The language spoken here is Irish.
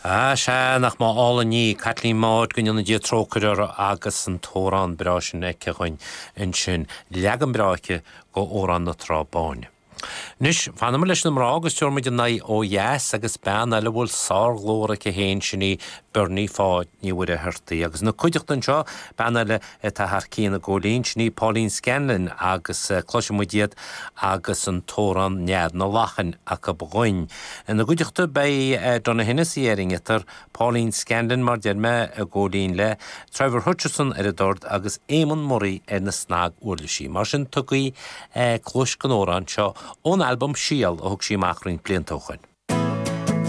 Ah sea, nach mba álainn í, Caitlín Maude, go ndéana Dia trócaire uirthi agus an t-amhrán breá sin aici dhuinn ansin, leagan breá aici go Amhrán na Trá Báine. Anois, fanfaidh muid leis na mná agus tabharfaidh muid an aghaidh ó dheas agus bean eile a bhfuil sárghlór aici féin, sin í Bernie Pháid Ní Mhuircheartaigh. Agus ina cuideachta anseo, bean eile atá thar cionn i gcóilín, sin í Pauline Scanlon agus cloisfidh muid iad agus an t-amhrán Nead na Lachan acu dhuinn. Ina gcuideachta beidh Donogh Hennessy ar an ngiotár, Pauline Scanlon mar deir mé i gcóilín le Trevor Hutchinson ar an dord agus Éamonn Murray ar na snag-uirlisí. Mar sin tugaigí cluais don amhrán seo ón albam Síol a thug sí amach roinnt blianta ó shoin.